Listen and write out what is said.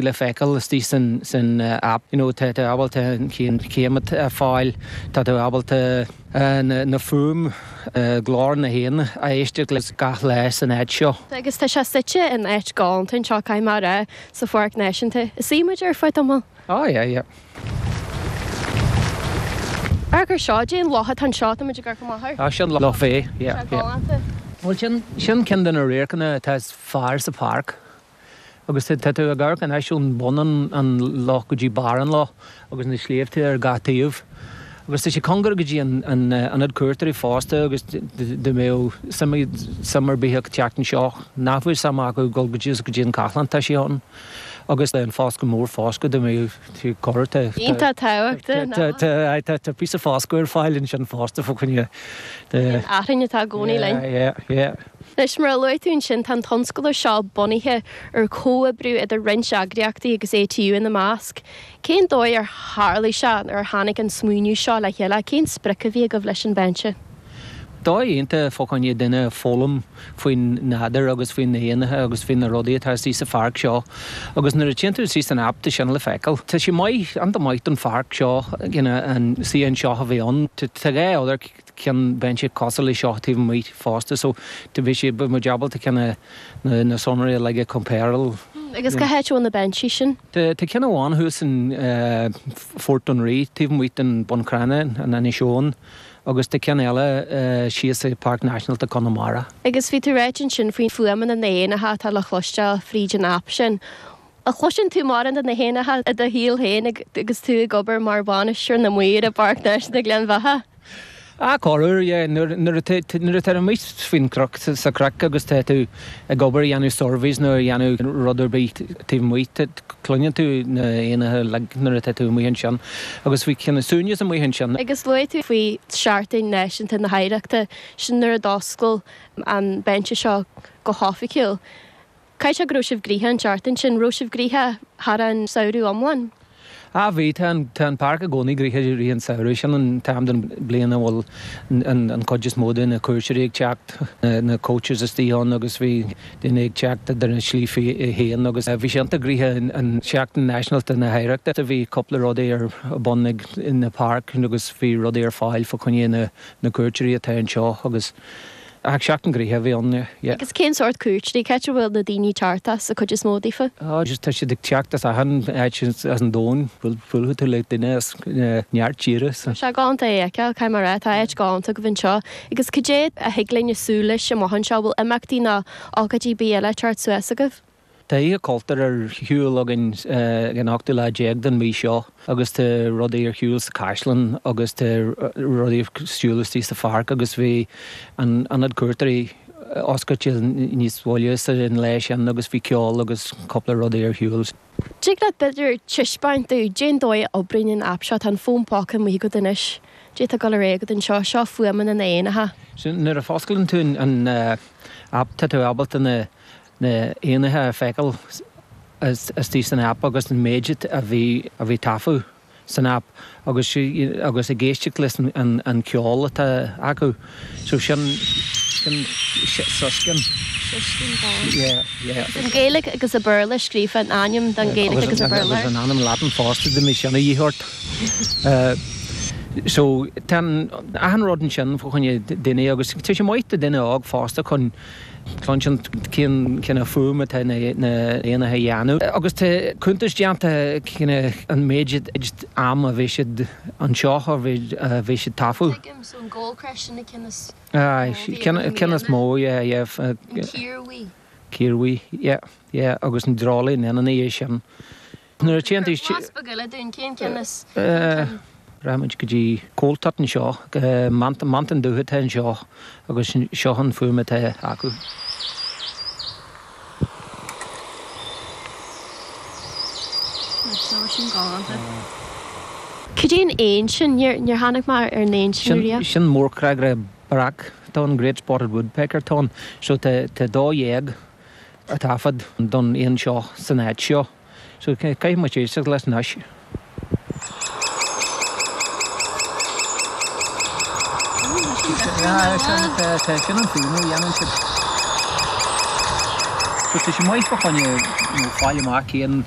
Le feiceáil istigh san app, you know, tá tú ábalta an chéim a fháil, tá tú ábalta na fuaim, glór na héan a éisteacht leis gach lá san áit seo. Agus tá sé suite in áit galánta anseo, caithfidh mé a rá, sa Pháirc Náisiúnta. An suífidh muid ar feadh tamaill? Oh yeah, yeah. Amharc ar seo, cad é an loch atá anseo, tá muid ag amharc amach air. Ah, sin Loch Bhé, yeah, yeah. Galánta. Bhuel, sin, sin ceann de na radharcanna atá is fearr sa pháirc. Agus tá tú ag amharc anois ón bun an loch go dtí barr an loch agus na sléibhte ar gach taobh. Agus tá sé cóngarach go dtí an ionad cuairteoirí fosta agus dá mbeadh suim ar bith acu teacht anseo, nach bhfuil suim acu dul go dtí go dtí an caisleán, tá sé ann. Agus an foscadh mór fosta dá mbeadh tú corr tá Iontach tábhachtach, tá tá píosa foscadh ar fáil ansin fosta fá choinne de. Achrainn atá i gcónaí linn. Yeah, yeah, yeah. Anois, mar a luaigh tú ansin, tá an tionscadal seo bunaithe ar chomhoibriú idir roinnt eagraíochtaí agus ATU ina measc. Cén dóigh ar tharlaigh sé, ar tháinig an smaoineamh seo le chéile? Cén sprioc a bhí agaibh leis an bhinse? Dóigh iontach fá choinne duine foghlaim faoin nádúr agus faoi na héanacha agus faoi na rudaí atá istigh sa pháirc seo. Agus nuair a téann tú istigh san aip tá sin le feiceáil. Tá sé maith, iontach maith don pháirc seo, an suíochán seo a bheith ann. Tá 2 other ceann binse cosúil le seo taobh amuigh fosta so bhí sé bhí muid ábalta ceann na na sonraí uilig a compareáil. Agus cá háit a bhfuil na binsí sin? Tá tá ceann amháin thuas in Fort Dún Rí taobh amuigh den Bun Cranncha in Inis Eoghain agus tá ceann eile síos i Páirc Náisiúnta Conamara. Agus bhí tú ráite ansin faoi fuaimeanna na n-éanacha atá le chloisteáil fríd an aip sin. An gcloiseann tú mórán de na héanacha i do shaol féin agus tú ag obair mar bhainisteoir na maor i bPáirc Náisiúnta Ghleann Bheatha? Ah, corruair, yeah. Nuair, nuair atá, nuair atá amuigh faoin chnoc, sa chnoc agus tá tú ag obair, ag déanamh surveys nó ag déanamh rud ar bith taobh amuigh, tá, cluineann tú na héanacha uilig nuair atá tú amuigh ansin. Agus bhí cineál suaimhneas amuigh ansin. Agus luaigh tú faoi Seachtain Náisiúnta na hOidhreachta, sin nuair a d'oscail an binse seo go hoifigiúil. Caithfidh sé go raibh sibh gnoitheach an tseachtain sin. Raibh sibh gnoitheach thar an samhradh iomlán? Ah bhí, tá an, tá an páirc i gcónaí gnoitheach i rith an tsamhraidh. Sin an t-am den bhliain a bhfuil an, an cuid is mó de na cuairteoirí ag teacht, na coaches istigh ann agus bhí daoine ag teacht idir na slí féin agus bhí sé iontach gnoitheach an Seachtain Náisiúnta na hOidhreachta. Bhí cúpla rudaí ar bun ag na páirc agus bhí rudaí ar fáil fá choinne na, na cuairteoirí atá anseo agus Ach seachtain gnoitheach a bhí ann, yeah. Agus cén sórt cuairteoirí? Cá háit a bhfuil na daoine ag teacht as, an cuid is mó daofa? Oh, just tá siad ag teacht as achan áit as an domhan. Buailfidh tú le duine as neart tíre. Tá sé galánta é a fheiceáil, caithfidh mé a rá. Tá áit galánta agaibh anseo. Agus cad é a thig linn a súil leis amach anseo? Bhfuil imeachtaí nó ócáidí ar bith eile ag teacht suas agaibh? Tá Oíche Chultúir ar shiúl againn ag an ochtú lá déag den mhí seo agus tá rudaí ar shiúl sa Chaisleán agus tá rudaí ar siúl istigh sa pháirc agus bhí an Ionad Cuairteoirí oscailte níos moille sa an lá sin agus bhí ceol agus cúpla rudaí ar shiúl. Tig leat b'fhéidir taispeáint dúinn cén dóigh a oibríonn an aip seo, tá an fón póca amuigh agat anois, cad é atá ag dul ar aghaidh agat anseo, seo fuaimeanna na n-éanacha. Nuair a fosclaíonn tú an aip tá tú ábalta na na éanacha a feiceáil istigh san aip agus an méid a bhí a bhí taifeadh san aip agus agus ag éisteacht leis an an ceol atá acu. So sin sin siscín. Siscín bán. Yeah, yeah. Agus an Gaeilge agus an Béarla scríofa, an ainm don Gaeilge agus an Béarla. Agus an ainm Latin fosta dá mbeadh sin a dhíth ort. So tá an achan rud ansin fá choinne duine agus tá sé maith do duine óg fosta chun Cluinstin cén cineál fuaim atá na éanacha a dhéanamh agus tá cuntas déanta cén an méid am a bhí siad anseo a bhí siad taifeadh. Tuigim, so an goldcrest sin an ceann is mó a bhí ar na ceann is mó, yeah, yeah. An ciarbhuí. Ciarbhuí, yeah, yeah agus an dreoilín ina dhiaidh sin. Nuair a téann tú isteach. Blas beag eile dúinn, cén ceann is, cén ceann? Rachaimid go dtí coal tit anseo, mantán dubh atá anseo agus seo an fuaim atá acu. Seo sin galánta. Cad é an éan sin? Níor tháinig mé ar an éan sin riamh. Sin mórchreagaire breac atá ann, great spotted woodpecker atá ann. So tá 12 taifead don éan seo san áit seo. So caithfidh muid éisteacht leis anois. Sin an fuaim a dhéanann siad. So tá sé maith fá choinne fáil amach cén.